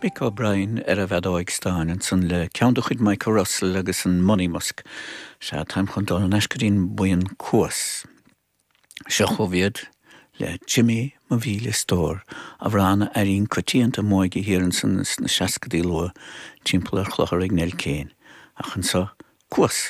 Mick O'Brien ar an bhfeadóig stáin ansan le ceann de chuid Michael Russell agus an Monymusk. Sea, táim chun dul thar n-ais go dtí'n buíon Cuas. Seo chugaibh iad le Jimmy Mo Mhíle Stór, amhrán a airínn coitianta i m'óige thiar ansan sna seascadaí luath timpeall ar chlochar ag Nell Kane. Ach anso, Cuas!